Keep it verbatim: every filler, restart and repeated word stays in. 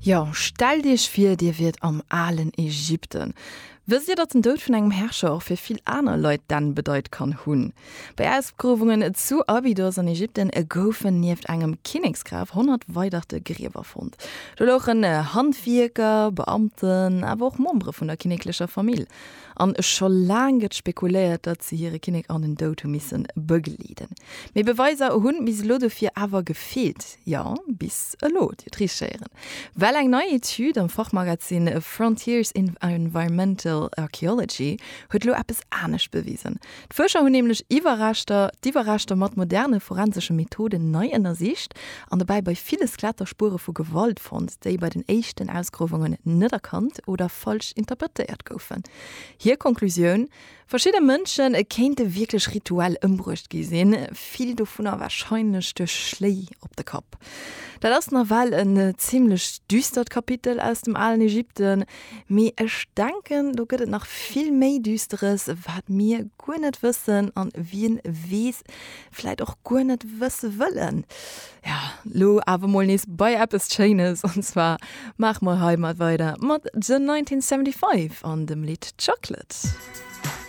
Jo, stellt iech vir, dir wiert am alen Ägypten. Wësst dir, datt den Doud vun engem Herrscher och fir vill aner Leit d'Enn bedeit kann hunn? Bei Ausgruewungen zu Abydos an Ägypten goufen nieft engem Kinneksgraf honnert weiderte Griewer fonnt. Do louchen Handwierker, Beamten, awer och Membere vun der kinneklecher Famill. An scho laang gëtt spekuléiert, datt se hire Kinnek an den Doud hu misse begleeden. Mee Beweiser hunn bis elo dofir awer gefeelt. Jo, bis elo, Dir hutt richteg héieren. Well eng nei Etüd am Fachmagazin Frontiers in Environmental Archaeology huet elo eppes anescht bewisen. D'Fuerscher hunn nämlech Iwwerreschter, d'Iwwerreschter mat moderne forensesche Methoden nei ënnersicht an dobäi bei ville Skeletter Spuere vu Gewalt fonnt, déi bei den éischten Ausgruewungen net erkannt oder falsch interpretéiert goufen. Hir Konklusioun, Verschidde Mënsche kéinte wierklech rituell ëmbruecht gi sinn, vill dovunner warscheinlech duerch Schléi op de Kapp. Dat ass nawell en zimmlech düstert Kapitel aus dem alen Ägypten, mee ech denken, do gëtt et nach vill méi Düsteres, wat mir guer net wëssen an wien weess, vläit och guer net wësse wëllen. Ja, lo awer mol nees bei eppes Schéines, an zwar maache mer hei mat weider mat The nineteen seventy-five an dem Lidd Chocolate.